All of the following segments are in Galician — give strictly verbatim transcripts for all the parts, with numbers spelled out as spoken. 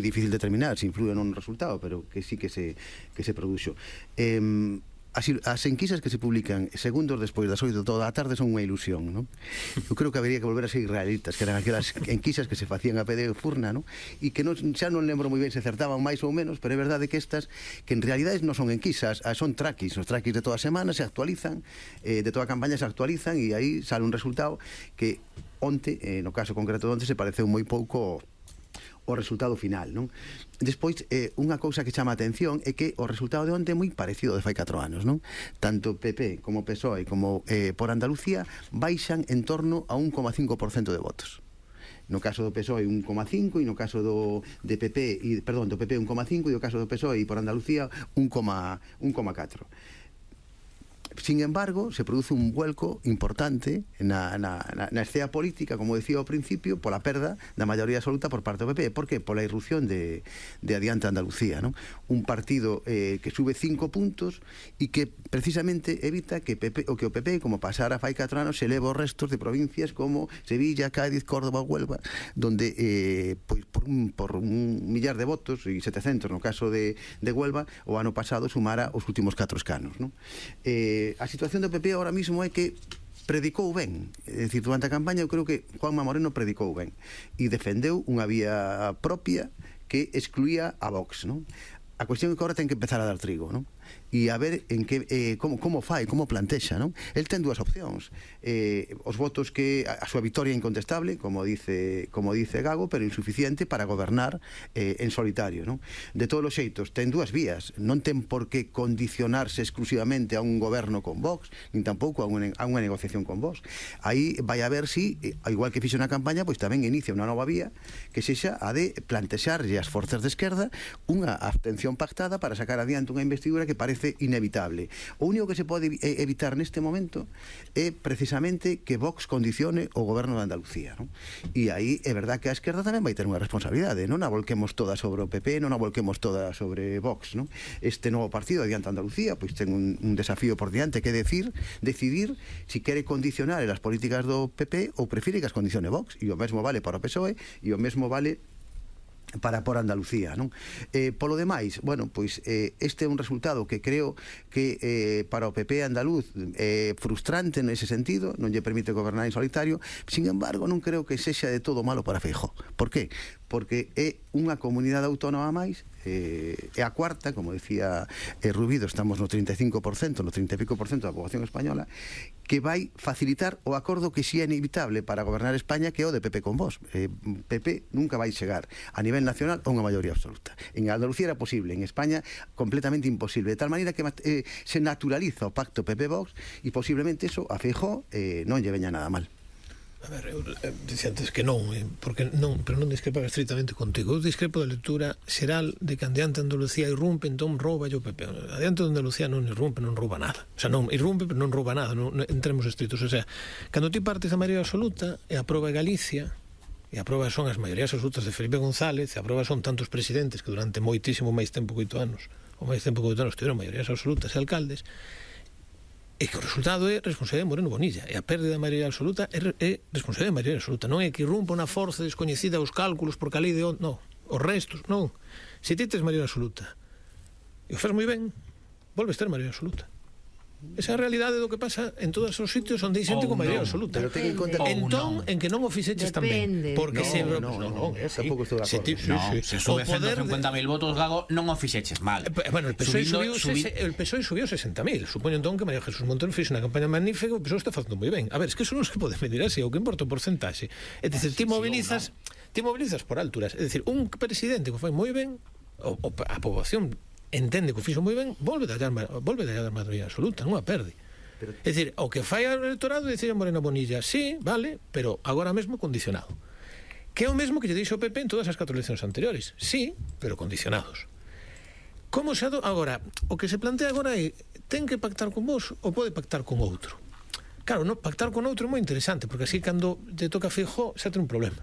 difícil determinar se influe non no resultado, pero que sí que se, que se produxo. Eh, as, as enquisas que se publican segundos despois das oito toda a tarde son unha ilusión, non? Eu creo que habería que volver a ser israelitas, que eran aquelas enquisas que se facían a pé de furna, non? E que non, xa non lembro moi ben se acertaban máis ou menos, pero é verdade que estas, que en realidade non son enquisas, son traquis, os traquis de toda a semana se actualizan, eh, de toda a campaña se actualizan, e aí sale un resultado que onte, eh, no caso concreto de onte, se pareceu moi pouco o resultado final, non? Despois, eh, unha cousa que chama a atención é que o resultado de onte é moi parecido de fai catro anos, non? Tanto P P como P S O E como eh, por Andalucía baixan en torno a un coma cinco por cento de votos. No caso do P S O E un coma cinco e no caso do de P P, e, perdón, do P P un coma cinco e no caso do P S O E e por Andalucía un coma catro. Sin embargo, se produce un vuelco importante na, na, na escena política, como decía ao principio, pola perda da maioría absoluta por parte do P P. Por que? Pola irrupción de, de Adiante Andalucía, non? Un partido eh, que sube cinco puntos e que precisamente evita que, P P, o que o P P, como pasara fai catro anos, se eleva os restos de provincias como Sevilla, Cádiz, Córdoba, Huelva, donde eh, pois, por, un, por un millar de votos e setecentos no caso de, de Huelva, o ano pasado sumara os últimos catro escanos, non? Eh, a situación do P P ahora mismo é que predicou ben, é dicir, durante a campaña eu creo que Juanma Moreno predicou ben e defendeu unha vía propia que excluía a Vox, non? A cuestión é que agora ten que empezar a dar trigo, non? E a ver en que, eh, como, como fai, como plantexa, non? El ten dúas opcións, eh, os votos que a, a súa victoria incontestable, como dice como dice Gago, pero insuficiente para gobernar eh, en solitario, non? De todos os xeitos, ten dúas vías, non ten por que condicionarse exclusivamente a un goberno con Vox, nin tampouco a unha, a unha negociación con Vox. Aí vai a ver si, eh, igual que fixo na campaña, pois tamén inicia unha nova vía que sexa a de plantexarlle as forzas de esquerda unha abstención pactada para sacar adiante unha investidura que parece inevitable. O único que se pode evitar neste momento é precisamente que Vox condicione o goberno de Andalucía, non? E aí é verdad que a esquerda tamén vai ter unha responsabilidade, non a volquemos toda sobre o P P, non a volquemos toda sobre Vox, non? Este novo partido Adiante Andalucía pois ten un, un desafío por diante que decir, decidir si quere condicionar as políticas do P P ou prefire que as condicione Vox, e o mesmo vale para o P S O E e o mesmo vale para por Andalucía, non? Eh, polo demais, bueno, pois eh, este é un resultado que creo que eh, para o P P andaluz é eh, frustrante nese sentido, non lle permite gobernar en solitario. Sin embargo, non creo que sexa de todo malo para Feijóo. Por qué? Porque é unha comunidade autónoma máis, eh, é a cuarta, como decía eh, Rubido, estamos no trinta e cinco por cento, no trinta e pico por ciento da poboación española, que vai facilitar o acordo que si é inevitable para gobernar España, que é o de P P con Vox. eh, P P nunca vai chegar a nivel nacional a unha maioría absoluta. En Andalucía era posible, en España completamente imposible, de tal maneira que eh, se naturaliza o pacto P P-Vox e posiblemente eso a Feijóo eh, non lle veña nada mal. A ver, eu eh, dicía antes que non, eh, porque non, pero non discrepa estritamente contigo. Eu discrepo da lectura xeral de que Adiante Andalucía irrumpe, entón rouba o P P. Adiante Andalucía non irrumpe, non rouba nada. O sea, non irrumpe, pero non rouba nada, non, en termos estritos. O sea, cando ti partes da maioría absoluta e a proba é Galicia, e a proba son as maiorías absolutas de Felipe González, e a proba son tantos presidentes que durante moitísimo máis tempo que oito anos, ou máis tempo que oito anos, tiveron maiorías absolutas e alcaldes, e que o resultado é responsabilidade de Moreno Bonilla, e a pérdida da maioría absoluta é, é responsabilidade de maioría absoluta, non é que irrumpa unha forza descoñecida os cálculos por calí de onde, non, os restos, non. Se ti tes maioría absoluta e o faz moi ben, volves ter maioría absoluta. Esa é a realidade do que pasa en todos os sitios onde hai xente con maioría absoluta. Pero ten en conta que entón, en que non o fixeches tan ben, porque se no, no, no, tampouco estou de acordo. Se sube ciento cincuenta mil votos, Gago, non o fixeches mal. Bueno, el P S O E subiu el P S O E subiu sesenta mil. Supoño entón que María Jesús Montero fixe unha campaña magnífica, o P S O E está facendo moi ben. A ver, es que eso non se pode medir así, o que importa o porcentaxe. É dicir, ti mobilizas, ti mobilizas por alturas. É dicir, un presidente que foi moi ben, a poboación entende que o fixo moi ben, volve a dar volve a dar maioría absoluta, non a perde. Pero... É dicir, o que fai o electorado é dicir a Moreno Bonilla, sí, vale, pero agora mesmo condicionado. Que é o mesmo que lle dixo o P P en todas as catro eleccións anteriores. Sí, pero condicionados. Como se ado... Agora, o que se plantea agora é, ten que pactar con vos ou pode pactar con outro? Claro, no, pactar con outro é moi interesante, porque así cando te toca Feijóo xa ten un problema.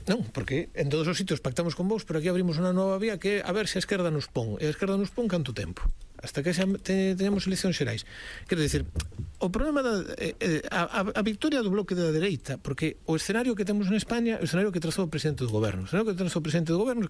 Non, porque en todos os sitios pactamos con vos, pero aquí abrimos unha nova vía que a ver se a esquerda nos pon. E a esquerda nos pon canto tempo? Hasta que xa te, tenemos eleccións xerais. Quero dicir, o problema da eh, a, a victoria do bloque da dereita, porque o escenario que temos en España é o escenario que trazou o presidente do goberno. O escenario que trazou o presidente do goberno